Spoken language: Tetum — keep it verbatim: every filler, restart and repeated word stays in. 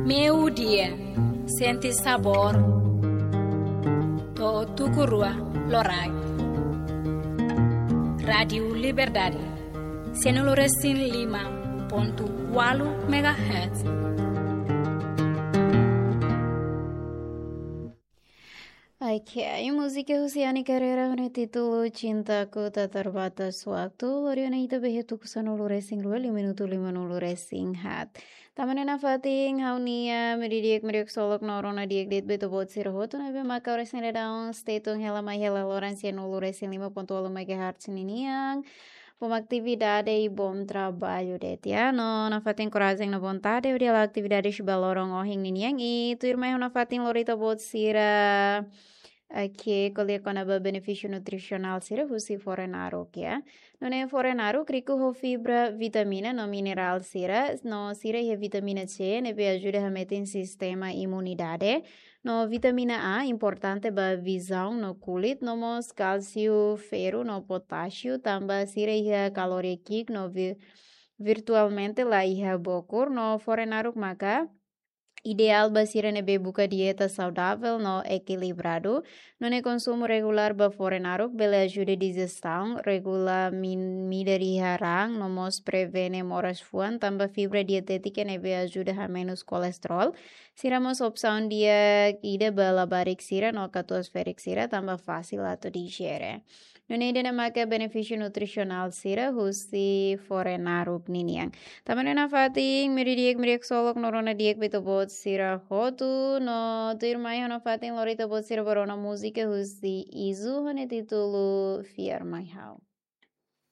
Meio-dia, sente sabor. To'o tuku rua loraik. Rádiu Liberdade, sanulu-resin-lima pontu ualu megahertz. Oke, múzika husi Ani Carreira ho nia títulu Cintaku Tak Terbatas Waktu. Lori ona ita ba iha tuku sanulu-resin-rua, liu minutu limanulu-resin-haat. Tanba ne'e nafatin ha'u-nia meio-dia di'ak, meio-dia ksolok no rona di'ak de'it ba ita-boot sira hotu ne'ebé maka oras ne'e daudaun stay tune hela mai hela loron sanulu-resin-lima pontu ualu megahertz ninian. Bom atividade i bom trabalho de'it, ya. No nafatin korajen no vontade hodi hala'o atividade husi ba loron ohin ninian i tuirmai ha'u nafatin lori ita-boot sira oke, ko'alia kona-ba benefísiu nutrisionál sira husi fore-naruk, ya. Nune'e fore-naruk riku ho fibra, vitamina no minerál sira, no sira iha vitamina C ne'ebé ajuda hametin sistema imunidade. No vitamina A importante ba vizaun no kulit, no mós kálsiu, ferru no potásiu, tanba sira iha kalória ki'ik no vi-, virtualmente la iha bokur, no fore-naruk maka ideál ba sira ne'ebé buka dieta saudável no ekilibradu. Nune'e konsumu regulár ba fore-naruk bele ajuda dijistaun, regula min-, midar iha raan, no mós prevene moras fuan, tanba fibra dietétika ne'ebé ajuda hamenus kolesterol. Sira mós opsaun di'ak ida ba labarik sira no katuas-ferik sira, tanba fasil atu dijere. Nune'e ida-ne'e maka benefísiu nutrisionál sira husi fore-naruk ninian. Tanba ne'e nafatin meio-dia di'ak, meio-dia ksolok no rona di'ak ba ita-boot sira hotu, no tuirmai ha'u nafatin lori ita-boot sira ba rona múzika husi Izu ho nia títulu Fiar Mai Ha'u.